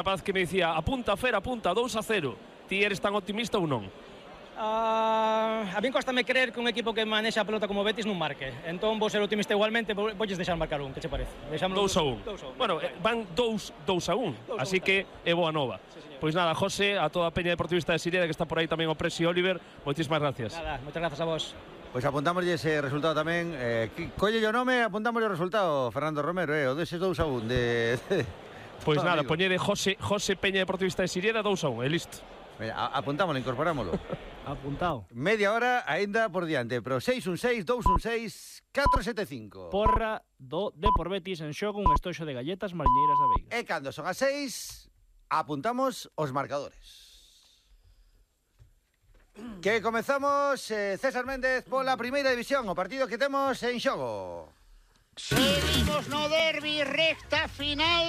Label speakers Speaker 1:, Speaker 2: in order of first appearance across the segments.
Speaker 1: Rapaz que me dicía, apunta, Fer, apunta, 2-0. Ti eres tan optimista ou non?
Speaker 2: A min costame creer que un equipo que manexa a pelota como Betis non marque. Entón vou ser optimista igualmente, voulles deixar marcar un, que che parece?
Speaker 1: 2-1. Bueno, van 2-1, así que é boa nova. Pois nada, José, a toda a peña deportivista de Sireda que está por aí tamén o Presi Oliver, moitísimas gracias.
Speaker 2: Nada, moitas grazas a vos.
Speaker 3: Pois apuntámoslle ese resultado tamén. Colle o nome, apuntámoslle o resultado, Fernando Romero, o deses 2-1 de...
Speaker 1: Pois nada, poñede José Peña deportivista de Sireda 2-1, e listo.
Speaker 3: Apuntámoslo, incorporámoslo.
Speaker 4: Apuntado.
Speaker 3: Media hora aínda por diante, pero 616-216-475.
Speaker 4: Porra do Depor Betis en xogo un estoxo de galletas mariñeiras da Veiga.
Speaker 3: E cando son as 6, apuntamos os marcadores. Que comezamos, César Méndez, pola primeira división, o partido que temos en xogo.
Speaker 5: Seguimos no derbi, recta final,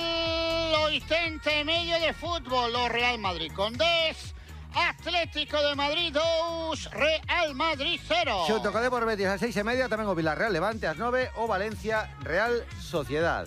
Speaker 5: 80 e medio de fútbol, o Real Madrid con 10, Atlético de Madrid 2, Real Madrid 0.
Speaker 3: Xunto co Depor Betis ás 6:30, tamén o Villarreal Levante ás 9, o Valencia Real Sociedad.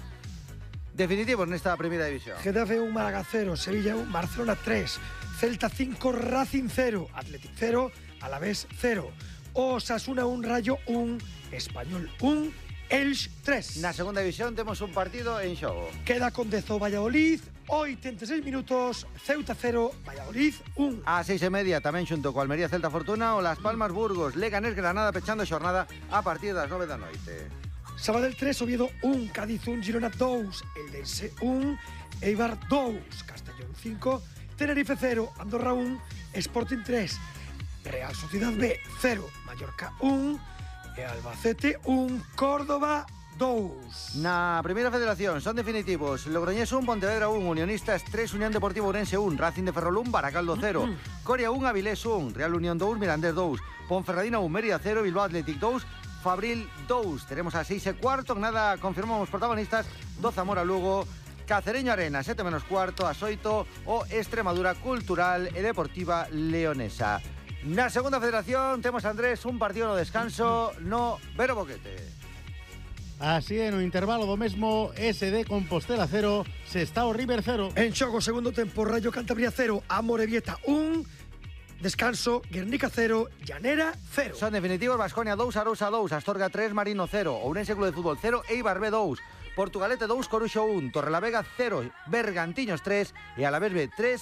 Speaker 3: Definitivos nesta primeira división.
Speaker 6: Getafe 1, Málaga 0, Sevilla 1, Barcelona 3, Celta 5, Racing 0, Athletic 0, Alavés 0, Osasuna 1, Rayo 1, Español 1, Elx 3.
Speaker 3: Na segunda división temos un partido en xogo.
Speaker 6: Queda con Dezo Valladolid, 86 minutos, Ceuta 0, Valladolid 1.
Speaker 3: A 6:30 tamén xunto co Almería Celta Fortuna o Las Palmas Burgos, Leganés Granada pechando xornada a partir das 9 da noite.
Speaker 6: Sabadell 3, Oviedo 1, Cádiz 1, Girona 2, Eldense 1, Eibar 2, Castellón 5, Tenerife 0, Andorra 1, Sporting 3, Real Sociedad B 0, Mallorca 1 e Albacete 1, Córdoba 2.
Speaker 3: Na primeira federación son definitivos Logroñés 1, Pontevedra 1, Unionistas 3, Unión Deportiva Ourense 1, Racing de Ferrol 1, Baracaldo 0, Coria 1, Avilés 1, Real Unión 2, Mirandés 2, Ponferradina 1, Mérida 0, Bilbao Athletic 2, Fabril 2. Tenemos a 6:15, nada, confirmamos protagonistas, do Zamora Lugo, Cacereño Arena, 7:15, a 8, o Extremadura Cultural e Deportiva Leonesa. Na segunda federación temos, Andrés, un partido no descanso no Vero Boquete.
Speaker 7: Así é, no intervalo do mesmo, SD Compostela 0, Sestao River 0.
Speaker 6: En xogo segundo tempo, Rayo Cantabria 0, Amorebieta 1, descanso, Guernica 0, Llanera 0.
Speaker 3: Son definitivos Baskonia 2, Arousa 2, Astorga 3, Marino 0, Ourense Club de Fútbol 0, Eibar B 2, Portugalete 2, Coruxo 1, Torrelavega 0, Bergantiños 3 e Alavés B 3,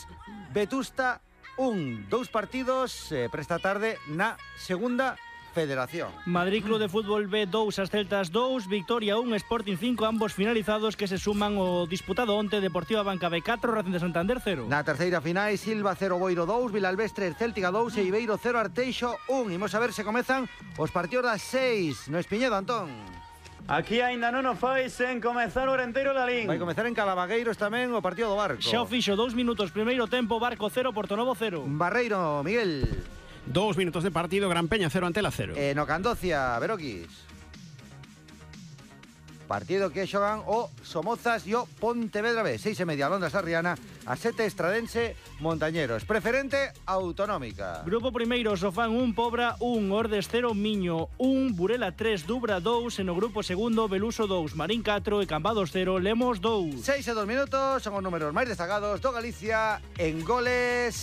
Speaker 3: Vetusta 1. Dous partidos para esta tarde na segunda federación.
Speaker 4: Madrid Club de Fútbol B 2, as Celtas 2, Victoria 1, Sporting 5, ambos finalizados que se suman o disputado onte, Deportiva Banca B 4, Racing de Santander 0.
Speaker 3: Na terceira final, Silva 0, Boiro 2, Vilalbés 3, Céltica 2 e Ibeiro 0, Arteixo 1. Imos a ver se comezan os partidos das 6 no Espiñedo, Antón.
Speaker 8: Aquí aínda non o fai sen comezar o Renteiro Lalín.
Speaker 3: Vai comezar en Calavagueiros tamén o partido do Barco.
Speaker 4: Xa o fixo, 2 minutos, primeiro tempo, Barco 0, Portonovo 0.
Speaker 3: Barreiro, Miguel.
Speaker 9: 2 minutos de partido, Gran Peña 0, Antela 0.
Speaker 3: No Candocia, Veroquis. Partido que xogan o Somozas e o Pontevedra B. 6:30, Londres Arriana, a 7 Estradense Montañeros. Preferente autonómica.
Speaker 4: Grupo primeiro, Sofán 1, Pobra 1, Ordes 0, Miño 1, Burela 3, Dubra 2, e no grupo segundo, Beluso 2, Marín 4 e Cambados 0, Lemos 2.
Speaker 3: 6:02 minutos, son os números máis destacados do Galicia en goles.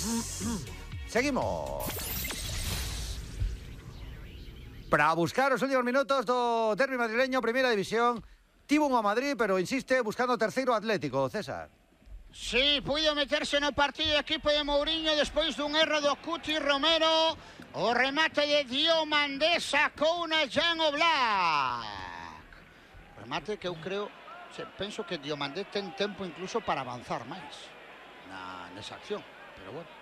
Speaker 3: Seguimos. Para buscar os últimos minutos do derbi madrileño, primeira división, tivo un a Madrid, pero insiste buscando o terceiro Atlético, César.
Speaker 5: Sí, puido meterse no partido do equipo de Mourinho despois dun erro do Cuti Romero. O remate de Diomandé sacou na Jan Oblak. Remate que eu creo, penso que Diomandé ten tempo incluso para avanzar máis nesa acción, pero bueno.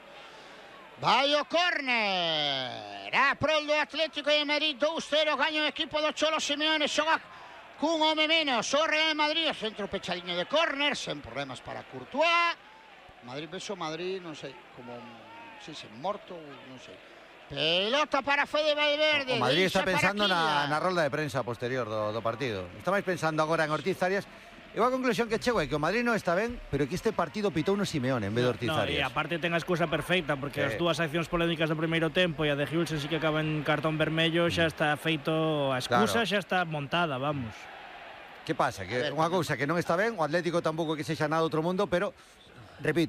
Speaker 5: Vai o córner, a prol do Atlético de Madrid, 2-0, gaña o equipo do Cholo Simeone, xoga cun home menos o Real Madrid, o centro pechadiño de córner, sen problemas para Courtois. Madrid, beso Madrid, non sei, como, morto, non sei. Pelota para Fede Valverde.
Speaker 3: O Madrid está pensando na rolda de prensa posterior do partido. Está máis pensando agora en Ortiz Arias. E a conclusión que chego é que o Madrid non está ben, pero que este partido pitou no Simeone en vez de Ortiz Arias.
Speaker 4: E aparte ten a excusa perfecta, porque as dúas accións polémicas do primeiro tempo e a de Hulsen sí que acaba en cartón vermello, xa está feito a excusa, xa está montada, vamos.
Speaker 3: Que pasa? Que unha cousa que non está ben, o Atlético tampouco que sexa nada outro mundo, pero repito,